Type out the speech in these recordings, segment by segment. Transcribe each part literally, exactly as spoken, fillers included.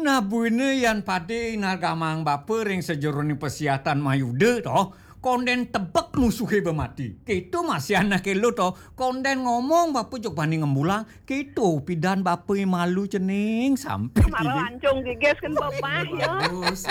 Nah, buina yan padé inargamang bapa ring sajeroning pasiatan mayuda to, kondén tebek musuhé ba mati. Kéto masih anak élo to, kondén ngomong bapa jeg bani ngembulang, kéto pidan bapa malu cening sampai mara gigi. Ancung gigis kan bapa ya. Bagus.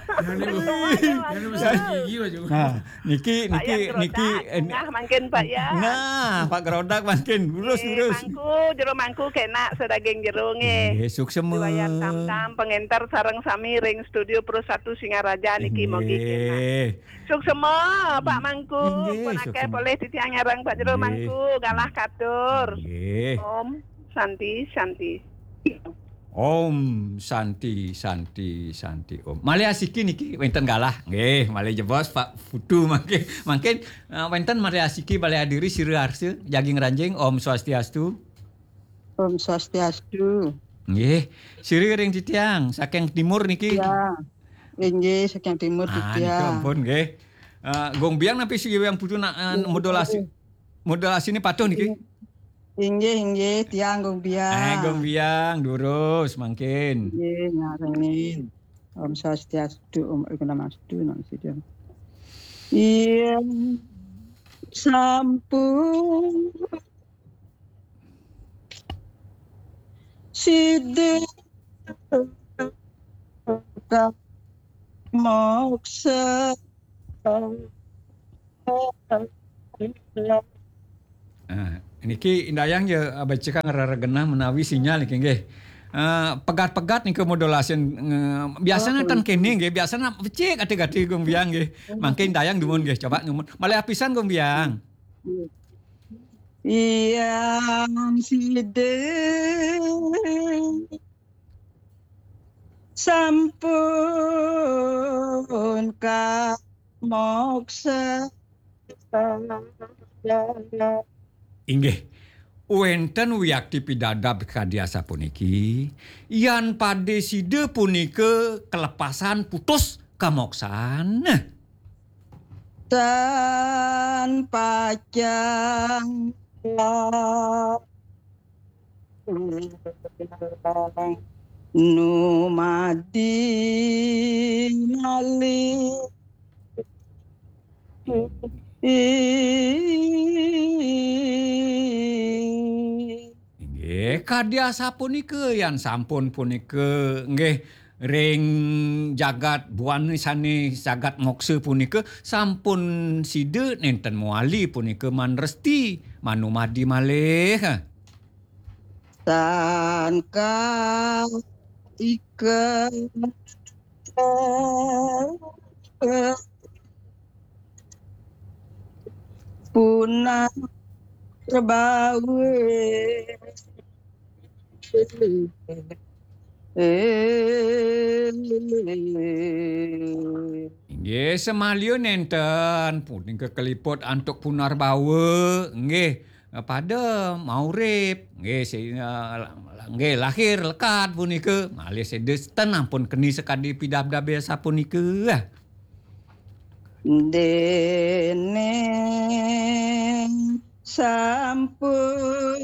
Jangan lupa. Jangan lupa gigi, Pak Jumadi. Nah, niki, Pak niki, Yan niki, Gerodak, eh, tengah mangkin, Pak Yan. Nah, Pak Gerodak mangkin. Lurus, eh, lurus. Mangku, jero mangku kénak sadaging jero nggih. Nggih, suksema. Diwayan tam-tam, pengenter sareng sami ring Studio Pro satu Singaraja niki mogi kénak. Nggih. Suksema, Pak Mangku. Nggih, pun akéh suksema. Polih titiang nyareng Pak Jero. Nggih. Mangku, galah katur. Nggih. Om Santi, Santi. Om Santi, Santi, Santi, Om. Malih asiki niki wénten galah. Nggih, malih jebos Pak Putu mangkin. Mangkin, eh, wénten malih asiki malih adiri sira arsa, jagi ngranjing. Om Swastiastu. Om Swastiastu. Nggih, sira ring titiang saking timur niki. Ya. Inggih, saking timur. Ah, titiang. Nika ampun nggih. Eh, Gung Biang napi sigi Biang Putu nak, eh, nggih, modulasi, modulasiné patuh niki? Inggih, inggih, tiang Gung Biang. Eh, Gung Biang, durus mangkin. Inggih, ngarengin. Om Swastiastu, Om Awighnamastu, Namo Siddham. Iya, sampun sida moksa. Ah, niki indayang ya, ah, becikang rara genah menawi sinyal niki nggih. Ah, pegat-pegat nika modulasi, eh, biasanya oh, ten kene nggih, biasanya becik ati-ati Gung Biang nggih. Mangke indayang dumun nggih, coba dumun. Malih apisan Gung Biang. Yang sida sampun kamoksa. Inggih, wénten wiakti pidabdab kadi asapuniki, yan pade sida punika kelepasan putus kamoksan. Tan pacang numadi malih. Inggih, kadi asapunika yan sampun punika, nggih, ring jagat buana sané jagat moksa punika sampun sida nénten mawali punika manresti manumadi malih. Tan kaika punah bawa. Inggih, samaliha nénten punika kaliput antuk punarbawa, nggih, pada maurip, nggih, si-, eh, nggih, lahir lekad punika, malih sida ten ampun keni sakadi pidabdabe sapunika. Déning sampun